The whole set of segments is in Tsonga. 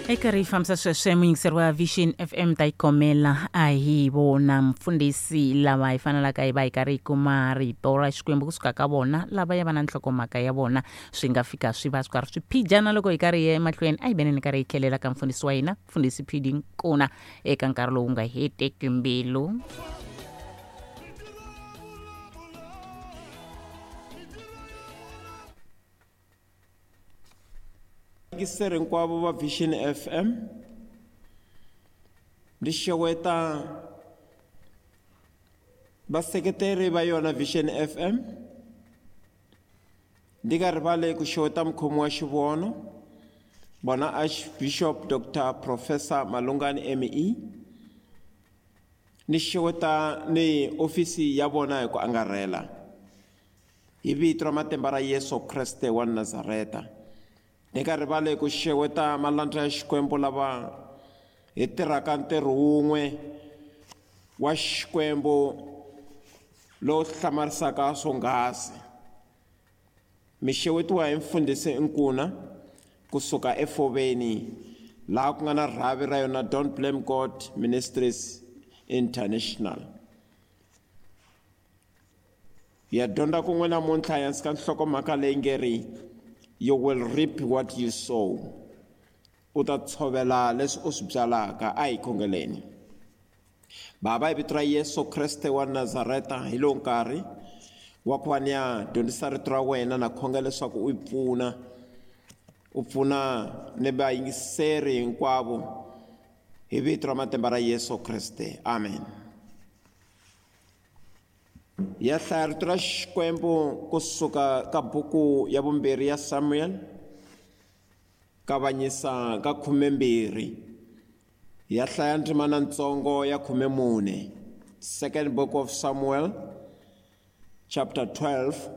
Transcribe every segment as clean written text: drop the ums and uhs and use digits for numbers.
Eka ri fambisa sweswe muyingiseri wa Vision FM ta yi komela a hi vona mfundhisi lava hi fanelaka hi va hi karhi hi kuma rito ra Xikwembu kusuka ka vona lava ya va na nhlokomhaka ya vona swi nga fika swi va swi karhi swi phijana loko hi karhi hi ya emahlweni a hi veneni karhi hi tlhelela ka mfundhisi wa hina mfundhisi Phidi Nkuna eka nkarhi lowu nga heteki mbilu. Vayingiseri hinkwavo va Vision FM ni xeweta vaseketeri va yona Vision FM ndi nga rivali ku xeweta mukhomi wa xivono vona Archbishop Dr Professor Malungani ME ni xeweta ni ofisi ya vona hi ku angarhela hi vito ra matimba ra Yesu Kreste wa Nazareta. Ni nga rivali ku xeweta malandza ya Xikwembu lava hi tirhaka ntirho wun'we wa Xikwembu lowu hlamarisaka swonghasi. Mi xewetiwa hi mfundhisi Nkuna kusuka eFoveni laha ku nga na rhavi ra yona Don't Blame God Ministries International. Hi ya dyondza kun'we namuntlha hansi ka nhlokomhaka leyi nge ri You will reap what you sow. U ta tshovela leswi u swi byalaka. A hi khongeleni. Baba, hi vito ra Yesu Kreste wa Nazareta, hi lowu nkarhi wa ku va ni ya dyondzisa rito ra wena na khongela leswaku u yi pfuna, u pfuna ni vayingiseri hinkwavo hi vito ra matimba ra Yesu Kreste. Amen. Ya hlaya rito ra Xikwembu kusuka ka buku ya vumbirhi ya Samuel, kavanyisa ka 12. Ya hlaya ndzimana ntsongo ya 14. Second book of Samuel, chapter 12,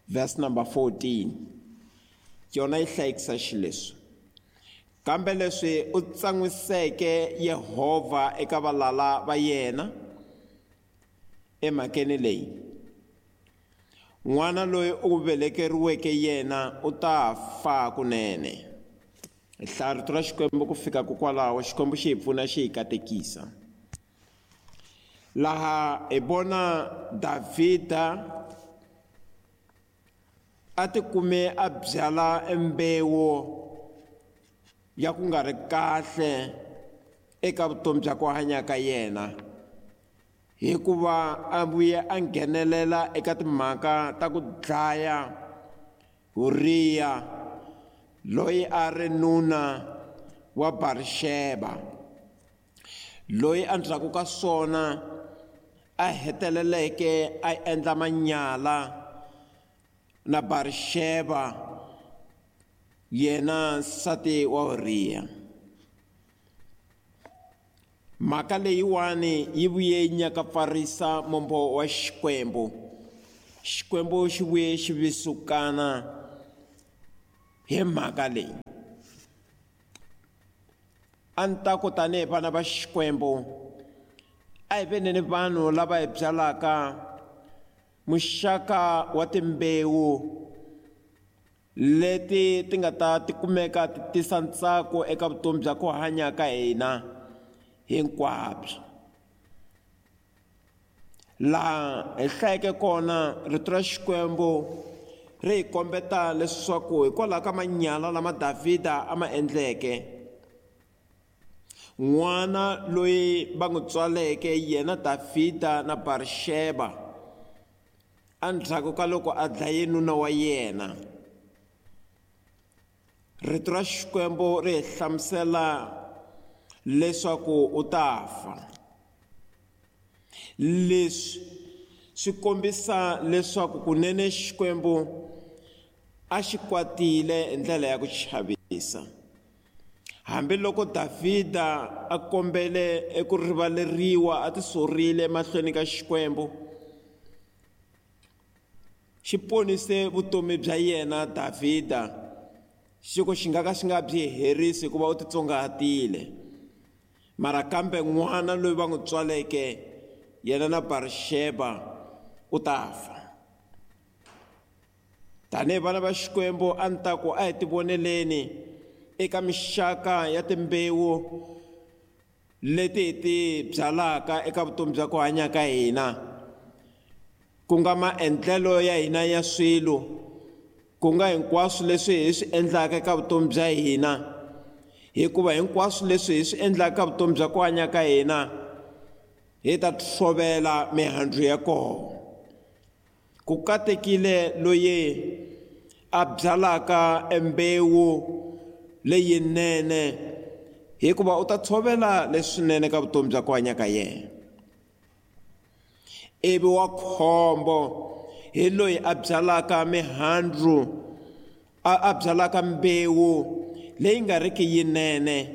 verse number 14. Yona yi hlayekisa xileswi: kambe leswi u tsan'wiseke Yehovha eka valala va yena emhakeni leyi, n'wana loyi u velekeriweke yena u ta fa kunene. Hi hlaya rito ra Xikwembu ku fika kokwalaho, Xikwembu xi hi pfuna xi hi katekisa. Laha hi vona Davhida a tikume a byala mbewu ya ku nga ri kahle eka vutomi bya ku hanya ka yena, hikuva a vuye a nghenelela eka timhaka ta ku dlaya Uriya loyi a ri nuna wa Barisheba, loyi endzhaku ka swona a heteleleke a endla manyala na Barisheba, yena nsati wa Uriya. Mhaka leyiwani yi vuye yi nyakapfarisa mombo wa Xikwembu. Xikwembu xi vuye xi visukana hi mhaka leyi. A ni ta ku tanihi vana va Xikwembu, a hi veni ni vanhu lava hi byalaka muxaka wa timbewu leti ti nga ta ti kumeka ti tisa ntsako eka vutomi bya ku hanya ka hina hinkwabyo. Laha hi hlayeke kona rito ra Xikwembu ri hi kombeta leswaku hikwalaho ka manyala lama Davhida a ma endleke, n'wana loyi va n'wi tswaleke yena Davhida na Barisheba endzhaku ka loko a dlaye nuna wa yena, rito ra Xikwembu ri hi hlamusela leswaku u ta fa. Leswi swi kombisa leswaku kunene Xikwembu a xi kwatile hi ndlela ya ku chavisa. Hambiloko Davhida a kombele eku rivaleriwa, a tisorile emahlweni ka Xikwembu, xi ponise vutomi bya yena Davhida, xi ku xi nga ka xi nga byi herisi hikuva u titsongahatile. Mara kambe n'wana loyi va n'wi tswaleke yena na Barisheba u ta fa. Tanihi vana va Xikwembu, a ni ta ku a hi tivoneleni eka mixaka ya timbewu leti hi ti byalaka eka vutomi bya ku hanya ka hina, ku nga maendlelo ya hina ya swilo, ku nga hinkwaswo leswi hi swi endlaka eka vutomi bya hina, hikuva hinkwaswo leswi hi swi endlaka eka vutomi bya ku hanya ka hina hi ta tshovela mihandzu ya kona. Ku katekile loyi a byalaka embewu leyinene, hikuva u ta tshovela leswinene ka vutomi bya ku hanya ka yena. Ivi wa khombo hi loyi a byalaka mihandzu, a byalaka mbewu leyi nga riki yinene,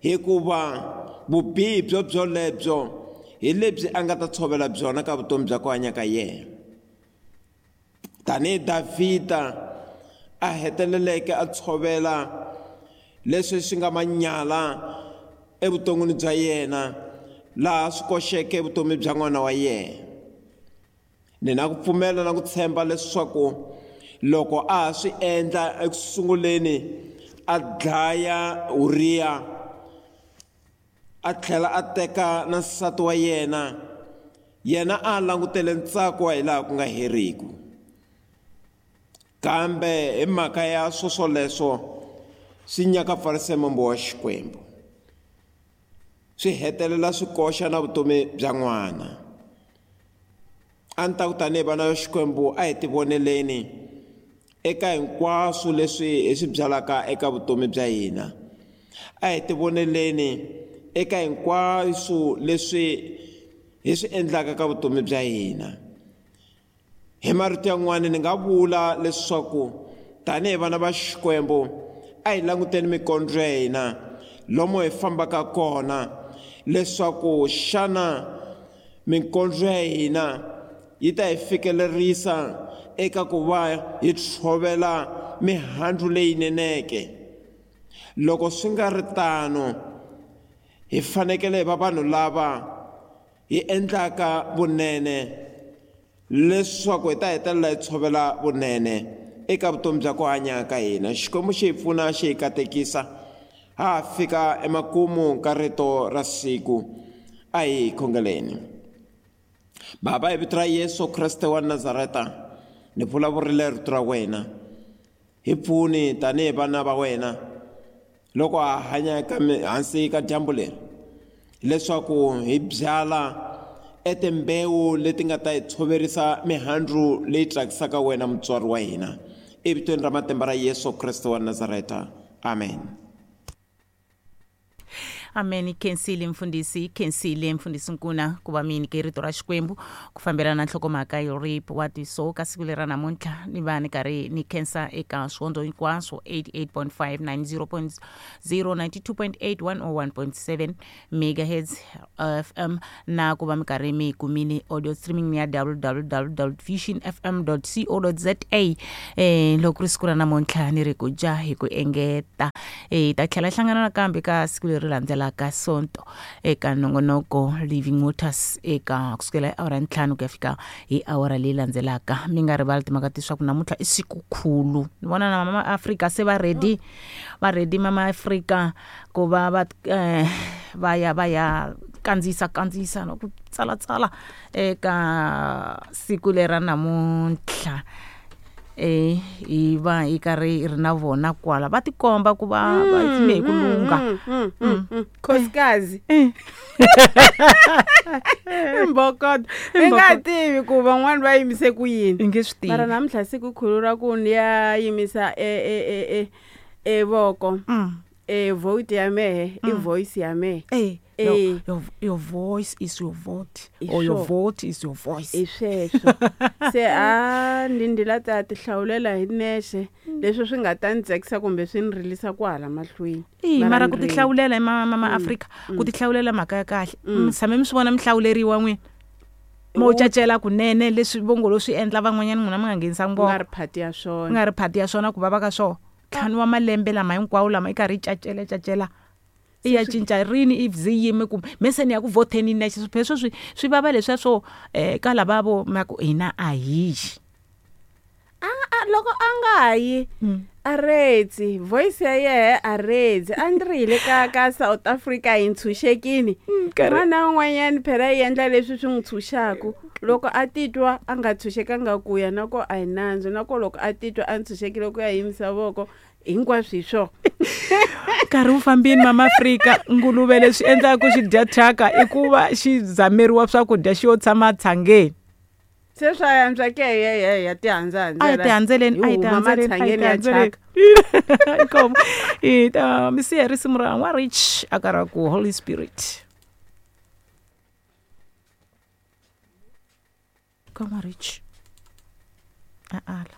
hikuva vubihi byo byolebyo hi lebyi a nga ta tshovela byona ka vutomi bya ku hanya ka yena. Tanihi Davhida a heteleleke a tshovela leswi swi nga manyala evuton'wini bya yena, laha swi koxeke vutomi bya n'wana wa yena. Ni na ku pfumela na ku tshemba leswaku loko a ha swi endla ekusunguleni a dlaya Uriya, a tlhela a teka na nsati wa yena, yena a langutele ntsako wa hilaha ku nga heriki. Kambe hi mhaka ya swoswoleswo swi nyakapfarise mombo wa Xikwembu, swi hetelela swi koxa na vutomi bya n'wana. A ni ta ku tanihi vana va Xikwembu a hi tivoneleni eka hinkwaswo leswi hi swi byalaka eka vutomi bya hina, a hi tivoneleni eka hinkwaswo leswi hi swi endlaka ka vutomi bya hina. Hi marito yan'wana ni nga vula leswaku tanihi vana va Xikwembu a hi languteni mikondzo ya hina lomu hi fambaka kona, leswaku xana mikondzo ya hina yi ta hi fikelerisa eka ku va hi tshovela mihandzu leyineneke. Loko swi nga ri tano, hi fanekele hi va vanhu lava hi endlaka vunene leswaku hi ta hetelela hi tshovela vunene eka vutomi bya ku hanya ka hina. Xikwembu xi hi pfuna, xi hi katekisa. Ha fika emakumu ka rito ra siku, a hi khongeleni. Baba, hi vito ra Yesu Kreste wa Nazareta, ni vulavurile rito ra wena. Hi pfuni tanihi vana va wena loko ha hanya eka hansi ka dyambu leri, leswaku hi byala etimbewu leti nga ta hi tshoverisa mihandzu leyi tsakisaka wena mutswari wa hina. Evitweni ra matimba ra Yesu Kreste wa Nazareta, amen. Amen. Khensile mfundhisi, khensile mfundhisi Nkuna ku va mi nyike rito ra Xikwembu ku fambelana na nhlokomhaka yo rip wa tiso ka siku leri ra namuntlha. Ni va ni karhi ni khensa eka swihondzo hinkwaswo 88.5, 90.0, 92.8, 101.7 megahertz FM, na ku va mi karhi mi kumile audio streaming ya www.visionfm.co.za. Loko ri siku ra namuntlha ni ri ku dya hi ku engeta, hi ta tlhela hlangana nakambe ka siku leri landzelaka Sonto eka nongonoko Living Waters eka kusukela hi awara 5 ku ya fika hi awara leyi landzelaka. Mi nga rivali timhaka leswaku namuntlha i siku khulu. Ni vona na mama Afrika se va ready, va ready mama Afrika ku va va va ya va ya kandziyisa na ku tsalatsala eka siku lera namuntlha. Hi va hi karhi hi ri na vona kwala va tikomba ku va va yime hi ku lungha. Khosikazi mbokoto i nga tivi ku van'wani va yimise ku yini, i nge swi tivi. Mara namuntlha siku khulu ra ku ni ya yimisa e voko, e vote ya mehe, i voice ya mehe. Your voice is your vote, or your vote is your voice. I sweswo se a ndi la ta ti hlawulela hi nexe leswi swi nga ta ni tsakisa kumbe swi ni rilisa kwala mahlweni. Mara ku ti hlawulela hi mama Afrika, ku ti hlawulela mhaka ya kahle. Mi tshame mi swi vona mi hlawuleriwa n'wina, mo cacela kunene leswi vongolo swi endla van'wanyana n'wina mi nga nghenisa ngoma. Nga ri phati ya swona, nga ri phati ya swona ku vava ka swona. 5 wa malembe lama hinkwawo lama i karhi yi cacela cacela i ya cinca rini if zi yime ku meseni ya ku voteni nexe sweswo swi vava leswiya swo ka lavavo ma ku hina a hi yi. Loko a nga yi A retsi voice ya yehe, a retsi a ni ri hi le ka South Africa hi ntshunxekini. Nkarhi- Un'wana na un'wanyani phela yi endla leswi swi n'wi tshunxaku. Loko a titwa a nga tshunxekanga ku ya na ko, a hi nandzu na ko. Loko a titwa a ntshunxekile ku ya yimisa voko, hinkwaswo hi swona. Nkarhi wu fambini, Mama Afrika. Nguluve leswi endlaka ku xi dya thyaka i ku va xi zameriwa swakudya, xi yo tshama tshangeni. Se swa yantswa ke ye ya tihandzahandzela. A hi tihandzeleni, a hi Hi huma tihandzeleni, a hi matshangeni ya tihandzeleni. thyaka. Inkomu. Hi ta mi siya risimu ra N'wa Rich a ka ra ku Holy Spirit ka N'wa Rich a ala.